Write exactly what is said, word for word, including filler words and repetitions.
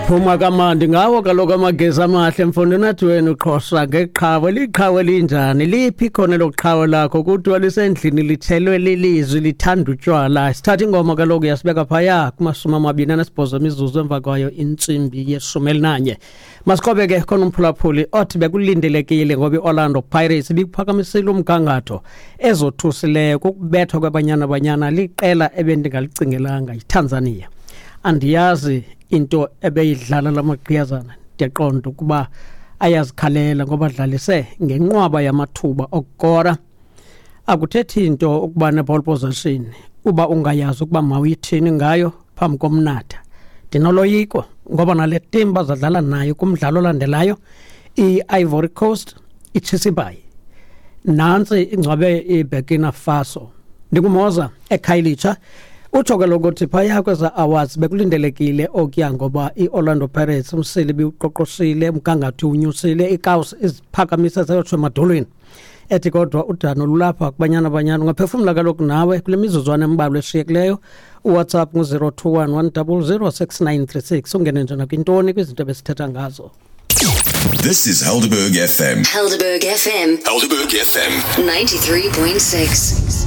Phuma kamandi ngawo kaloku amageza amahle, mfundi. Nathi wena uqhosha ngeqhawe, liqhawe linjani? Liphi khona loqhawe lakho? Kuthiwa lisendlini, lithelwe lilizwi, lithanda utywala. Sithatha ingoma kaloku yasibeka phaya kumashumi amabini anesibhozo imizuzu emva kwayo intsimbi yeshumi elinanye. Masiqobe ke khona umphulaphuli othi bekulindelekile ngoba i-Orlando Pirates ibikuphakamisile umgangatho. Ezothusileyo kukubethwa kweBanyana Banyana liqela ebendingalicingelanga, yiTanzania. Andiyazi into ebeyidlala lamagqiyazana, ndiyaqonda ukuba ayazikhalela ngoba adlalise ngenqwaba yamathuba okukora. Akuthethi into ukuba ne-ball possession uba ungayazi ukuba mawuyithini ngayo phambi komnatha. Ndinoloyiko ngoba nale team bazadlala nayo kumdlalo olandelayo, i-Ivory Coast, itshisa. Nantsi ingcwabe iBurkina Faso. Ndingumoza eKhayelitsha. Utsho kaloku uthi phaya kweza awards bekulindelekile okuya ngoba i-Orlando Pirates umsili biwuqoqoshile, umgangatho unyusile, ikawusi iziphakamise zayotsho emadolweni. Ethi kodwa udano lulapha kuBanyana Banyana. Ungaphefumla kaloku nawe kule mizuzwana embalwa eshiyekileyo. UWhatsApp ngu-zero two one one double zero six nine three six. Ungene nje nakwintoni kwizinto ebesithetha ngazo. This is Helderberg F M. Helderberg F M. Helderberg F M. ninety-three point six.